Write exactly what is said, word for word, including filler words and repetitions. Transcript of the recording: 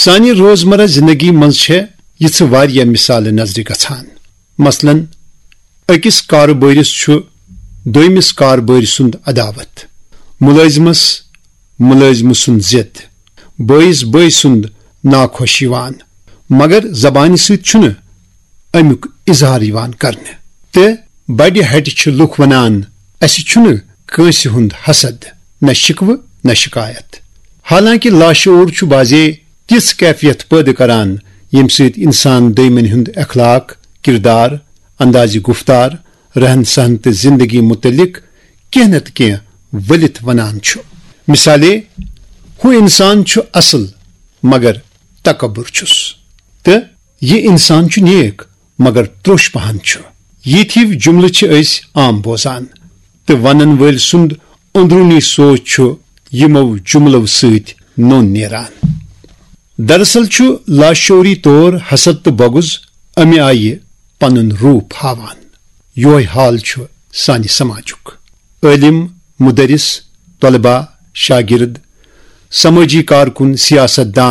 سانہِ روزمرہ زندگی منٛز چھےٚ یِژھٕ واریاہ مثالہٕ نظرِ گژھان۔ مثلاً، أکِس کارٕبٲرِس چھُ دوٚیمِس کارٕبٲرۍ سُنٛد عداوت، مُلٲزمس مُلٲزمہٕ سُنٛد ضد، بٲیِس بٲے سُنٛد ناخۄش یِوان، مگر زبانہِ سۭتۍ چھُنہٕ اَمیُک اظہار یِوان کرنہٕ۔ تہٕ بڑِ ہٹہِ چھِ لُکھ ونان، "اسہِ چھُنہٕ کٲنٛسہِ ہُنٛد حسد، نہ شکوٕ، نہ شکایت۔" حالانکہ لاشعور چھُ بعضے تِژھ کیفیت پٲدٕ کران، ییٚمہِ سۭتۍ انسان دوٚیمن ہُنٛد اخلاق، کردار، اندازِ گفتار، رہن سہن تہٕ زندگی متعلق کینٛہہ نتہٕ کینٛہہ ؤلِتھ ونان چھُ۔ مثالے، ہُہ انسان چھُ اصل، مگر تکبر چھُس، تہٕ یہِ انسان چھُ نیک، مگر تروش پہن چھُ۔ یِتھۍ ہِوۍ جملہٕ چھِ أسۍ عام بوزان، تہٕ ونن وٲلۍ سُنٛد اندرونی سونچ چھُ یِمو جملو سۭتۍ نوٚن نیران۔ دراصل چھُ لاشعوری طور حسد تہٕ بغض امہِ آیہِ پنُن روپ ہاوان۔ یُہے حال چھُ سانہِ سماجُک۔ عٲلِم، مُدرِس، طلبہ، شاگرد، سمٲجی کارکُن، سیاست دان،